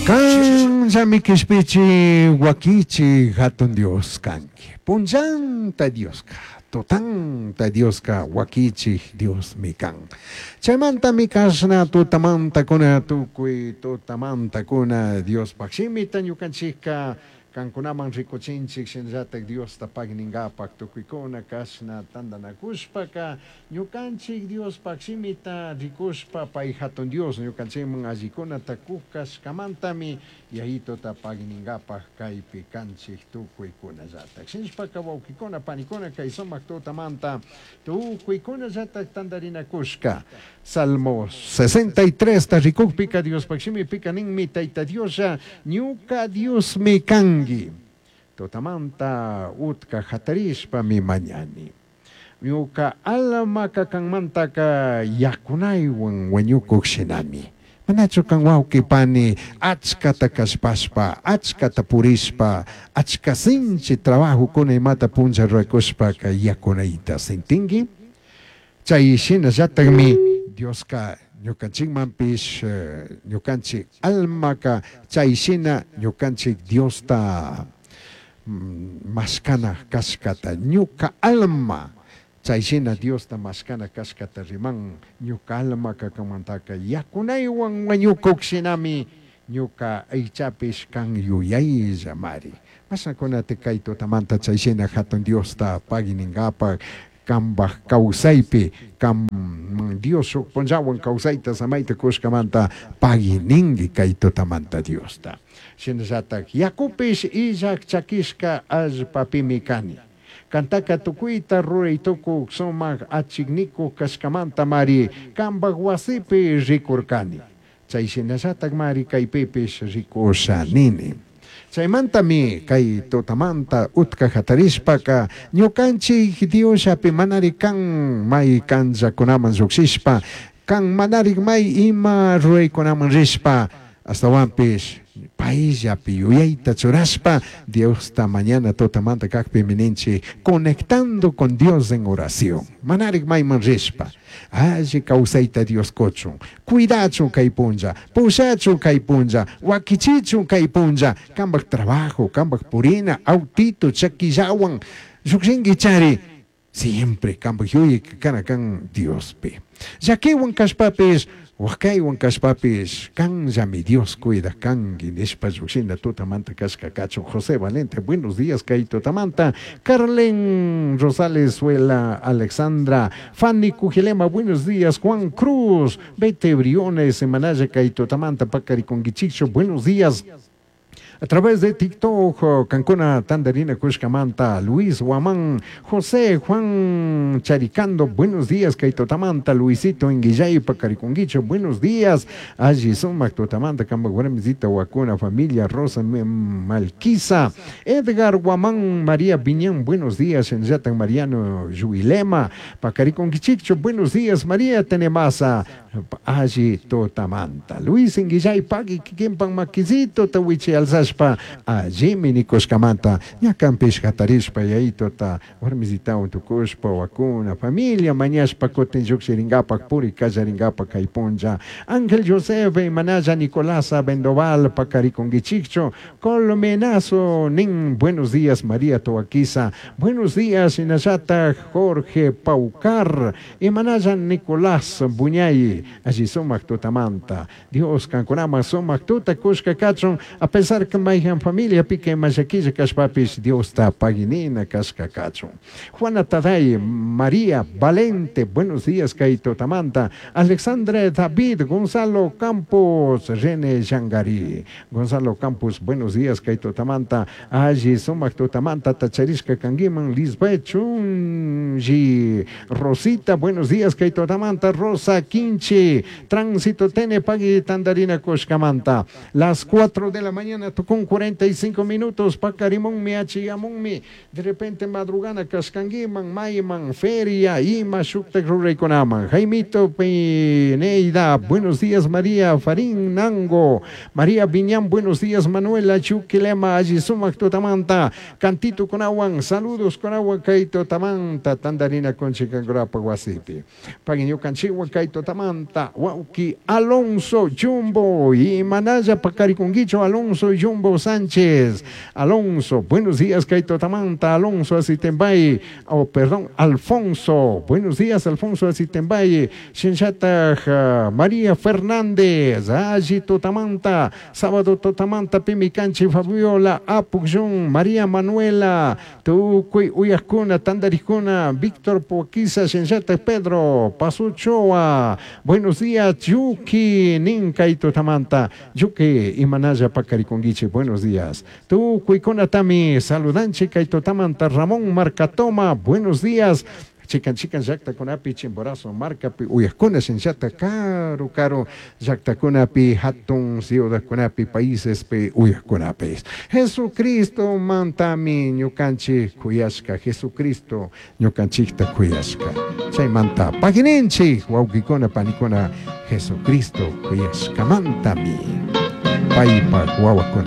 Kanllami kishpichi wakichi hatun Dios kanki. Punllanta Dioska, tutanta Dioska wakichij Diosmi kan. Chaymantami kashna tutamantakuna tukuy tutamantakuna Diospaj shimita ñukanchikka kankunaman rikuchinchik shinallatak Diosta pagninkapak tukuykuna kashna tantanakushpaka ñukanchik Diospaj shimita rikushpa pay hatun Dios ñukanchikman allikunata kuk kashkamantami yayituta pagninkapak kaypi kanchik tukuykunallatak. Shinashpaka wawkikuna panikuna kay sumak tutamanta tukuykunallatak tantarinakushka. Salmo 63 ta rikukpika Diospaj shimipika ninmi Tayta Dioslla ñuka Diosmi kanki. Tutamanta utka hatarishpami mañani. Ñuka almaka kanmantaka yakunaywan wañukuk shinami. Manachu kan wawqi pani achkata kallpashpa, achkata purishpa, achka sinchi trabajokuna imata punlla rurakushpaka yakunayta sintinki? Chay shinallatakmi Dioska ñukanchikmanpish ñukanchik almaka chay shina ñukanchik Diosta mashkana kashkata ñuka alma chay shina Diosta mashkana kashkata riman ñuka almaka kanmantaka yakunaywan wañukuk shinami ñuka aychapish kan yuyayllamari. Mashnakunata kay tutamanta chay shina hatun Diosta pagui ninkapak kambaj kawsaypi kam Dios shuk punllawan kawsayta samayta kushkamanta pagui ninki kay tutamanta Diosta. Shinallatak yakupish illak chakishka allpapimi kani. Kantaka tukuyta ruray tukuk sumak achiknikuk kashkamanta mari kambaj wasipi rikurkani. Chay shinallatak mari kaypipish rikusha nini. Chaymantami kay tutamanta utka hatarishpaka ñukanchik Diosllapi manari kan may kanllakunaman llukshishpa kan manari may ima ruraykunaman rishpa astawanpish payllapi yuyayta churashpa Diosta mañana tutamanta kakpimi ninchik conectando con Dios en oración. Manarik mayman rishpa alli kawsayta Dios kuchun, cuidachun kay punlla, pushachun kay punlla, wakichichun kay punlla, kambaj trabajo, kambaj purina, autito, chakillawan, llukshinki chari, siempre kambaj yuyay kana kan Diospi. Llakiwan kashpapish, wakaywan kashpapish, kanllami Dios cuida kanki nishpa llukshina tutamanta kashka kachun. José Valente, buenos días kay tutamanta. Carlen Rosales, Suela, Alexandra, Fanny Cujilema, buenos días. Juan Cruz, Bete Briones, Semanaya kay tutamanta, Pacariconguichicho, buenos días. A través de TikTok, Cancuna Tandarina Kushkamanta, Luis Guamán, José Juan Charicando, buenos días, Kaito Tamanta, Luisito Inguillay, Pacariconguicho, buenos días, Allí Sumac Totamanta, Camba Guaramizita, Huacuna, familia Rosa Malquiza, Edgar Guamán, María Viñán, buenos días, Enyatan Mariano Yuilema, Pacariconguichicho, buenos días, María Tenemasa, Allí Totamanta, Luis Inguillay, Pagui, Kikimpan Maquizito, Tawichi Alzashpa, allimi nikushkamanta, ñakanpish hatarishpa yayituta warmisitawan tukushpa wakuna familia mañashpa kutin llukshirinkapak puri kallarinkapak kay punlla. Ángel Joseph Manaya Nicolasa Bendoval Pacariconguichicho Colmenazo nin, buenos días María Toaquiza, buenos días Inayata Jorge Paucar, Imanaya Nicolás Buñay, allí sumak tutamanta, Dios kankunama sumak tuta kushka kachun, a pesar que mayhan familia pique mayaquilla kashpapis Dios ta paginina kashka kachun. Juana Taday, María Valente, buenos días kay tutamanta, Alexandra David, Gonzalo Campos, René Yangari, Gonzalo Campos, buenos días kay tutamanta, allí sumak tutamanta, Tacharishka kangiman, Lisbeth Chunji, Rosita, buenos días kay tutamanta, Rosa Quinche, Tránsito Tene Pagui Tandarina Kushkamanta, las 4 de la mañana. con 45 minutos, pakarimunmi, achiyamunmi, de repente madrugana kashkankiman, mayman, feria, ima shuktak ruraykunaman. Jaimito Pineida, buenos días María Farín Nango, María Viñán, buenos días Manuela Chuquilema, alli sumak tutamanta, cantito kunawan, saludos kunawan kay tutamanta, tandarina kunchikankurapa wasipi. Pagui ñukanchikwan kay tutamanta, wawki Alonso Jumbo, imanalla pakarikunkichu Alonso Jumbo Sánchez. Alonso, buenos días kay tutamanta, Alonso Asitembay, oh perdón, Alfonso, buenos días Alfonso Asitembay, Shinchataj María Fernández, alli tutamanta, sábado tutamanta, Pimicanchi Fabiola, Apukjun, María Manuela, tukuy uyajkuna, tandarijkuna, Víctor Poquiza, Shinchataj Pedro, Pasuchoa, buenos días Yuki, Ninkay tutamanta, Yuki, imanalla pakarikunkichi, buenos días. Tukuykunatami saludanchik kay tutamanta, Ramón Marcatoma, buenos días. Chikan chikan llaktakunapi Chimborazo markapi uyajkuna shinllata karu karu llaktakunapi hatun ciudadkunapi paísespi uyajkunapis. Jesucristo mantami ñukanchik kuyashka, Jesucristo ñukanchikta kuyashka. Chaymanta pagininchik wawqikuna panikuna Jesucristo kuyashkamantami paypak wawakuna.